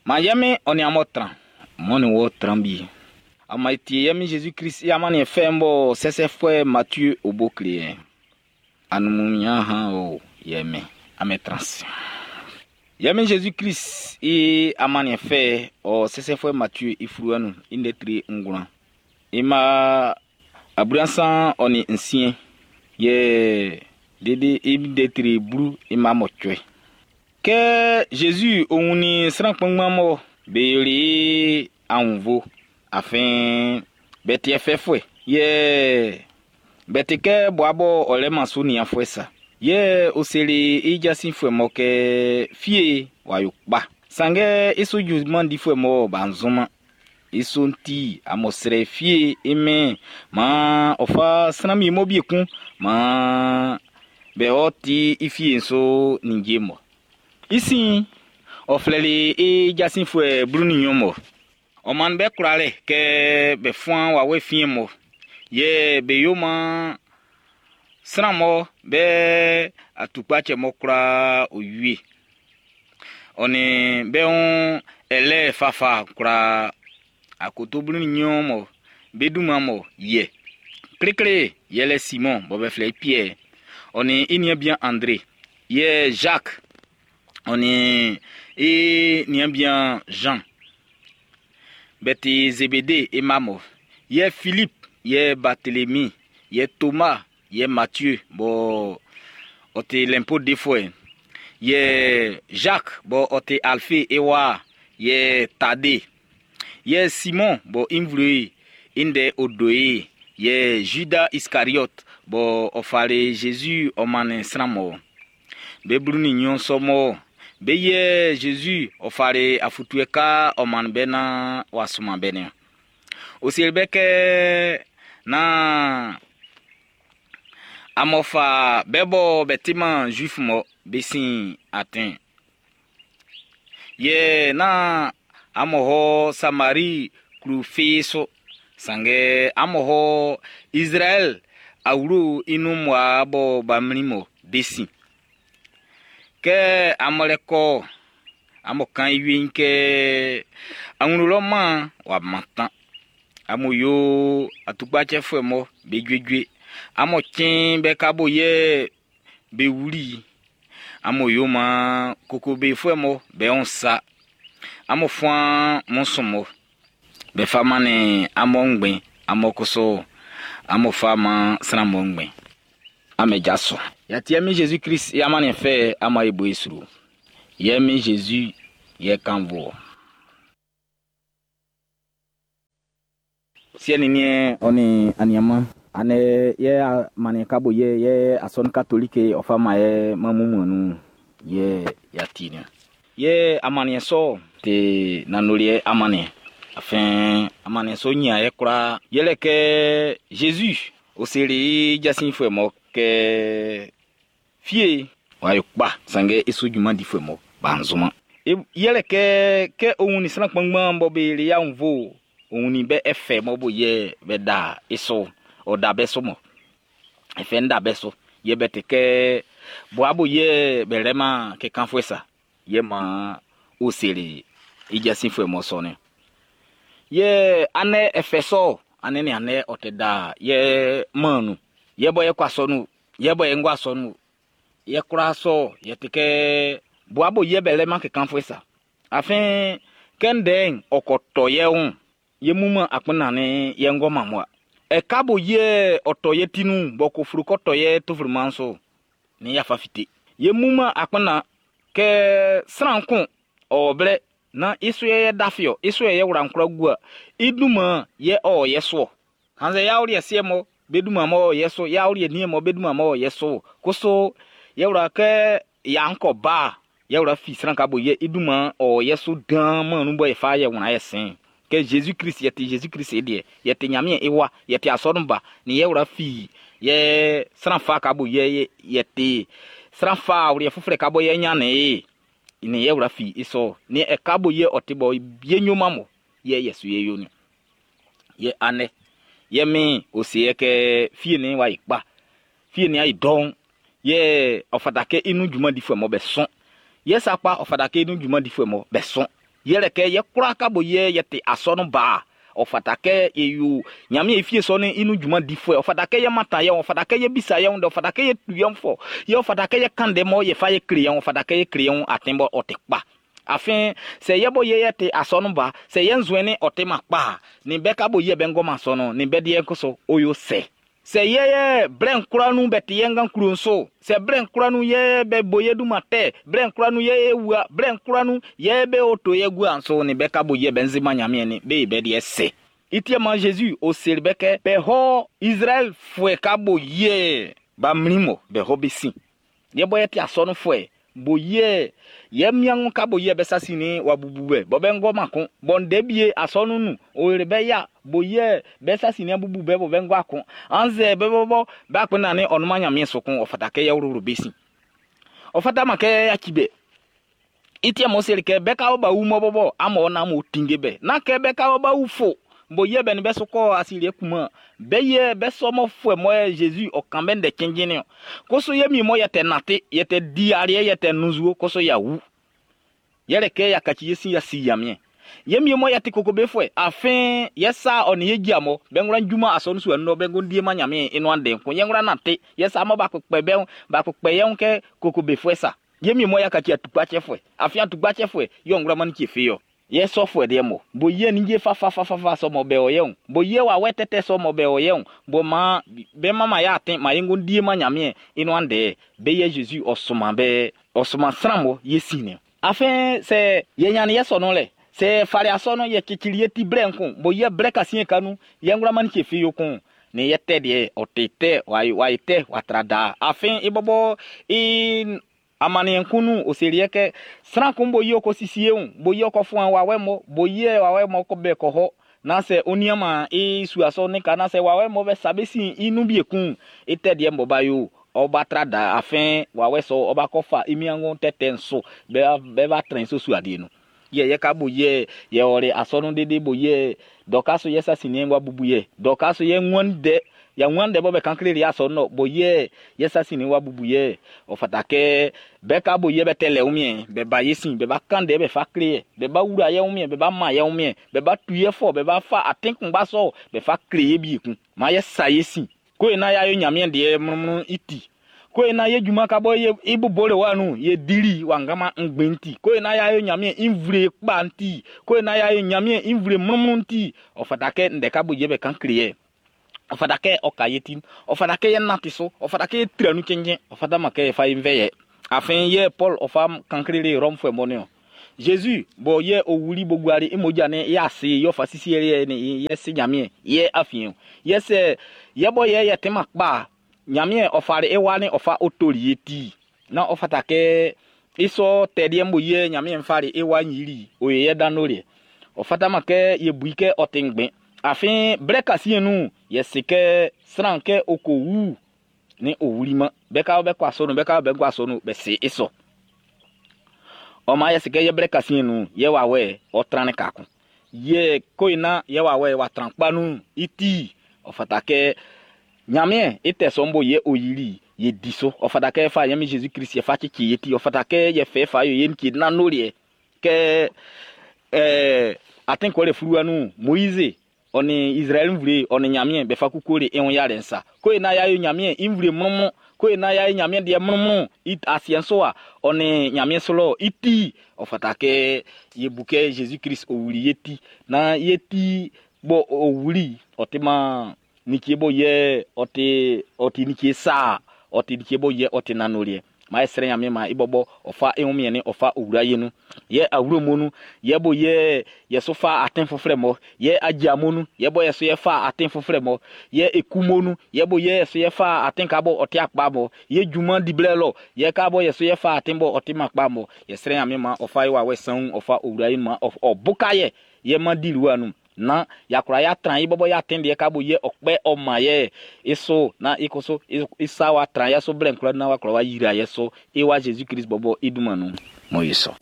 Maan ye Min ɔ nin amun tran, m'ɔ nin wɔ tran wie. Amun e tie ye Min Jésus Christ i amanniɛn fɛ'n bɔ sɛsɛfuɛ Matthieu o bo kle ye. Anumunya han o ye Min, amun tran se. Ye Min Jésus Christ i amanniɛn fɛ ɔ sɛsɛfuɛ Matthieu i fluwa nun i ndɛ tre ngwlan. I ma 36 ɔ nin nsiɛn yɛ dede i ndɛ tre 18. Kɛ Jésus o wunnin sran kpanngban mɔ be yoli i aunnvo, afin be ti fɛfɛ yɛ be ti kɛ bua bɔ ɔ lɛ man su nianfuɛ sa. Yɛ ɔ seli i jasinfuɛ mɔ kɛ fie w'a yo kpa. Sanngɛ i su junman difuɛ mɔ b'a nzɔnman. I sɔ'n ti amun srɛ fie i mɛn maan ɔ fa sran wie mɔ bie kun maan be ɔ ti i fie'n so ninnge mɔ. I sin ɔ flɛli i jasinfuɛ 12 mɔ. Ɔ man be kwlalɛ kɛ be fuan wawɛ fiɛn mɔ. Yɛ be yo maan sran mɔ be atukpatsɛ mɔ kwla o wie. Ɔ nin be wun ɛlɛ fafa kwla akoto 12 mɔ be dunman mɔ yɛ. Klekle yɛlɛ Simon bɔ be flɛ i Pierre. Ɔ nin i nian bian André. Yɛ Jacques. Ɔ nin i nian bian Jean. Be ti Zébédée i mma mɔ. Yɛ Philippe, yɛ Barthélemy, yɛ Thomas, yɛ Matthieu bɔ ɔ ti l'impôt defuɛ. Yɛ Jacques bɔ ɔ ti Alphée i wa, yɛ Thaddée. Yɛ Simon bɔ i nvle i ndɛ o do ye. Yɛ Judas Iscariote bɔ ɔ fali Jésus ɔ mannin sran mɔ. Be 12 sɔ mɔ be yɛ Jésus ɔ fali afutue ka ɔ mannin be na w'a suman be ni. O seli be kɛ na amɔ fa be bɔ be timan juif mɔ be sin atin. Yɛ na amɔ hɔ Samari klu fee so. Sanngɛ amɔ hɔ Israël awlo i nun mɔ bɔ ba mli mɔ be sin. Kɛ amɔ lɛ kɔ amɔ kan i wie'n kɛ awlo lɔ man w'a mantan. Amun yo atukpatsɛfuɛ mɔ be juejue. Amun tiɛn be ka bo yɛ be wuli. Amun yo man kokobefuɛ mɔ be wun sa. Amun fuan mɔnsɔn mɔ. Be fa man ni amun ngbɛn. Amun koso amun fa man sran mɔ ngbɛn. Ame jaso. Yati mi Jésus Christ i amanniɛn fɛ ama e bo e sro. Yɛ mi Jésus yɛ kanvo. Siɛ ni niɛn ɔ ni aniama ane yɛ amaniɛn kabo yɛ yɛ asɔnu katolike ɔ fa ma yɛ mamumu nu yɛ yati ni. Yɛ amaniɛn sɔ te nanoliɛ amaniɛn. Afin amaniɛn sɔ nya yɛ kura yɛlɛ kɛ Jésus o seli jasinfuɛ mɔ kɛ fie wa yo kpa sanngɛ i su junman difuɛ mɔ b'a nzɔma. Yɛlɛ kɛ kɛ o wunnin sran kpanngban bɔ be le ya nvo o wunnin bɛ ɛfɛ mɔ bo yɛ bɛ da i so ɔ da bɛ so mɔ. Ɛfɛ ń da bɛ so yɛ bɛ te kɛ bua bo yɛ bɛ lɛ ma kɛ kanfuɛ sa yɛ ma o seli i jasinfuɛ mɔ sɔ ni. Yɛ anɛ ɛfɛ sɔ anɛ ni anɛ ɔ tɛ da yɛ mɔnu yɛ bɔ yɛ kɔ asɔnu yɛ bɔ yɛ ŋgɔ asɔnu yɛ kura sɔ yɛ te kɛ bua bo yɛ bɛ lɛ ma kɛ kanfuɛ sa. Afin kɛ ndɛ'n ɔkɔtɔ yɛ ŋu yɛ muma akpena ni yɛ ŋgɔ mamua. Ɛka bo yɛ ɔtɔ yɛ tinu bɔ ko furu kɔtɔ yɛ tofuru manso ni yafa fite. Yɛ muma akpena kɛ sran kun ɔblɛ na isu yɛ dafiɔ isu yɛ wura nkura gua iduma yɛ ɔ yɛ soɔ. Hanzɛ yawuri yɛ seɛ mɔ be duma mɔ yɛ so yawuri yɛ nie mɔ be duma mɔ yɛ so koso yɛ wura kɛ yankɔ ba yɛ wura fi sran ka bo yɛ iduma ɔ yɛ so dan mɔ nu bɔ yɛ fa yɛ wuna yɛ sɛn. Kɛ Jésus Christ yɛ ti Jésus Christ yɛ deɛ yɛ ti Ɲanmiɛn i wa yɛ ti asɔrun ba ni yɛ wura fi yɛ sran fa ka bo yɛ yɛ ti sran fa wuri yɛ fufurɛ ka bɔ yɛ nya ne ye ni yɛ wura fi i sɔ ni ɛka bo yɛ ɔti bɔ yɛ nyoma mɔ yɛ yɛ su yɛ yo ni yɛ anɛ yɛ mi o se yɛ kɛ fie ni wa yi kpa fie ni ayi dɔn yɛ ɔfata kɛ inu juma di fuɛ mɔ bɛ sɔn yɛ sakpa ɔfata kɛ inu juma di fuɛ mɔ bɛ sɔn. Yɛlɛ kɛ yɛ kwlaa ka bo yɛ yɛ te asɔnun ba. Ɔ fata kɛ e yo Ɲanmiɛn i fie sɔ'n i nun junman difuɛ. Ɔ fata kɛ yɛ mantan yɛ, ɔ fata kɛ yɛ bisa yɛ, ɔ fata kɛ yɛ tu yɛ fɔ. Yɛ ɔ fata kɛ yɛ kan ndɛ mɔ yɛ fa yɛ kle yɛ, ɔ fata kɛ yɛ kle yɛ atin bɔ ɔ te kpa. Afin sɛ yɛ bɔ yɛ yɛ te asɔnun ba, sɛ yɛ nzuɛn ɔ te ma kpa, nin bɛ ka bo yɛ bɛ ngɔma sɔnun, nin bɛ deɛ koso o yo sɛ. Sɛ yɛ yɛ blɛn kura nu bɛ te yɛ ngan kuro nso, sɛ blɛn kura nu yɛ bɛ bo yɛ duma tɛ, blɛn kura nu yɛ yɛ wua, blɛn kura nu yɛ bɛ o to yɛ gua nso, nin bɛ ka bo yɛ bɛ nzema Ɲanmiɛn ni, bɛ yɛ bɛ deɛ sɛ. Itie ma Jésus o seli bɛ kɛ, bɛ hɔ Israël fuɛ ka bo yɛ, ba mlimo, bɛ hɔ bɛ sin. Yɛ bɔ yɛ te asɔnu fuɛ, bo yɛ, yɛ miangu ka bo yɛ bɛ sasi ni wa bubu bɛ, bɔ bɛ ngɔ ma kun, bɔ nde bie asɔnu nu, o yɛrɛ bɛ ya, bo yɛ, bɛ sasi ni bubu bɛ, bɔ bɛ ngɔ akun. Anze bɛ bɔ bɔ, bɛ akpɛ na ni ɔnuma Ɲanmiɛn so kun, ɔ fata kɛ yɛ wuru bɛ sin. Ɔ fata ma kɛ ya ci bɛ. Itie mo seli kɛ bɛ ka ba wu mɔ bɔ bɔ, amɔ na mo tinge bɛ. Na kɛ bɛ ka ba wu fo, bo yɛ bɛ ni bɛ so kɔ asili kuma, bɛ yɛ bɛ sɔmɔ fuɛ mɔ yɛ Jésus ɔ kan bɛ ndɛ kɛnjɛnɛ o. Koso yɛ mi mɔ yɛ tɛ nate, yɛ tɛ di ariɛ, yɛ tɛ nuzuo, koso ya wu. Yɛrɛ kɛ ya kaci yɛ si ya si yamiɛ. Yɛ mi mɔ yɛ te koko bɛ fuɛ, afin yɛ sa ɔ ni yɛ dzi amɔ, bɛ ŋlɔ njuma asɔnu su ɛnɔ, bɛ ŋgo die ma nyamie enu ande ko, yɛ ŋlɔ nate, yɛ sa mɔ ba kpɛ bɛ, ba kpɛ yɛ ŋkɛ koko bɛ fuɛ sa. Yɛ mi mɔ ya kaci atukpa tsɛ fuɛ, afin atukpa tsɛ fuɛ, yɔ ŋlɔ mani tse fe yɔ. Yɛ sɔfo ɛdeɛ mɔ, bo yɛ ni dze fa fa fa fa fa sɔmɔ bɛ o yɛ o, bo yɛ wa wɛ tɛtɛ sɔmɔ bɛ o yɛ o, bo ma bɛ ma ma yɛ aten, ma yɛ ŋgo die ma nyamie enu ande, bɛ yɛ Jésus ɔsoma bɛ, ɔsoma sran mɔ yɛ si ne. Afin sɛ yɛ nyani yɛ sɔnɔ lɛ, sɛ fari asɔnɔ yɛ kekili yɛ ti brɛ ŋkun, bo yɛ brɛ kasi yɛ kanu, yɛ ŋlɔ mani tse fe yo kun. Ni yɛ tɛ deɛ, ɔte tɛ, wa wa tɛ, wa tra da. Afin i bɔbɔ i amani nkunu oseri yɛ kɛ sran kun bo yi ko sisi ewu, bo yi ko fún wa wɛ mɔ, bo yi wa wɛ mɔ ko bɛ kɔ hɔ. Na sɛ oniama e suasɔ ne ka na sɛ wa wɛ mɔ bɛ sabe si inu bi ekun, e tɛ deɛ mɔ ba yo, ɔba tra da afin wa wɛ sɔ ɔba kɔ fa imiango tɛtɛ nso, bɛ bɛ ba trɛn so su adie no. Yɛ yɛ ka bo yɛ, yɛ ɔre asɔnu dede bo yɛ, dɔka so yɛ sasi ni wa bubu yɛ, dɔka so yɛ ŋuan dɛ, ya ŋuan dɛ bɔ bɛ kankle ri asɔnu nɔ, bo yɛ, yɛ sasi ni wa bubu yɛ, ɔfata kɛ bɛ ka bo yɛ bɛ tɛlɛ umie, bɛ ba yɛ sin, bɛ ba kan dɛ bɛ fa kle yɛ, bɛ ba wura yɛ umie, bɛ ba ma yɛ umie, bɛ ba tu yɛ fɔ, bɛ ba fa atenkun ba sɔ, bɛ fa kle yɛ bi kun. Ma yɛ sa yɛ sin. Ko ina ya yo nyamie deɛ mrumru iti. Ko ina ye juma ka bɔ ye ibu bole wa nu ye diri wa ngama ngbenti. Ko ina ya yo nyamie invre kpa nti. Ko ina ya yo nyamie invre mrumru nti. Ɔfata kɛ ndɛ ka bo yɛ bɛ kan kle yɛ. Ɔfata kɛ ɔka ye tin. Ɔfata kɛ yɛ nati so. Ɔfata kɛ yɛ tiranu kɛnyɛ. Ɔfata ma kɛ yɛ fa ye nvɛ yɛ. Afin yɛ Paul ɔfa kan kle le Rome fɛ mɔne o. Jésus bo yɛ owuli bo guari imoja ne yɛ ase yɛ ɔfa sisi yɛ ne yɛ se nyamie yɛ afien. Yɛ sɛ yɛ bɔ yɛ yɛ tema kpa nyamie ɔfare ewa ne ɔfa otori ye ti. Na ɔfata kɛ isɔ tɛdeɛ mbo yɛ nyamie nfare ewa nyiri oye yɛ danore. Ɔfata ma kɛ yɛ bui kɛ ɔte ngbɛn. Afin brɛ kasi nu yɛ se kɛ sran kɛ oko wu ni owuli ma. Bɛ ka bɛ kɔ asɔnu, bɛ ka bɛ kɔ asɔnu, bɛ se isɔ. Ɔma yɛ se kɛ yɛ brɛ kasi nu yɛ wa wɛ ɔtran ne kakun. Yɛ koina yɛ wa wɛ wa tran kpanu iti. Ɔfata kɛ nyamie ite sɔmbo yɛ oyiri yɛ di so. Ɔfata kɛ fa yɛ mi Jésus Christ yɛ fa tsitsi yɛ ti. Ɔfata kɛ yɛ fɛ fa yɛ yɛ nki nanori kɛ atenkɔ le furuwa nu Moïse ɔni Israël nvle ɔni nyamie bɛ fa kuku le eŋu ya le nsa. Ko ina ya yo nyamie nvle mrumru. Ko ina ya yo nyamie deɛ mrumru it asien so a ɔni nyamie sɔlɔ iti. Ɔfata kɛ yɛ bu kɛ Jésus Christ owuli yɛ ti. Na yɛ ti bɔ owuli ɔte ma nikie bɔ yɛ ɔte ɔte nikie saa ɔte nikie bɔ yɛ ɔte nanorie. Ma yɛ srɛ nyame ma ibɔbɔ ɔfa ehu miɛne ɔfa owura yɛ nu. Yɛ awuro mu nu, yɛ bo yɛ yɛ so fa aten foforɔ mɔ, yɛ agya mu nu, yɛ bɔ yɛ so yɛ fa aten foforɔ mɔ, yɛ eku mu nu, yɛ bo yɛ yɛ so yɛ fa aten ka bɔ ɔte akpa mɔ, yɛ dwuma diblɛ lɔ, yɛ ka bɔ yɛ so yɛ fa aten bɔ ɔte ma kpa mɔ. Yɛ srɛ nyame ma ɔfa yɛ wa wɛ sanwu ɔfa owura yɛ ma ɔboka yɛ, yɛ ma di ruwa nu. Na yakura ya tran yi bɔbɔ ya ten deɛ ka bo yɛ ɔkpɛ ɔma yɛ eso na ikoso isa wa tran ya so blɛ nkura na wa kura wa yira yɛ so ewa Jésus Christ bɔbɔ iduma nu mo yi so.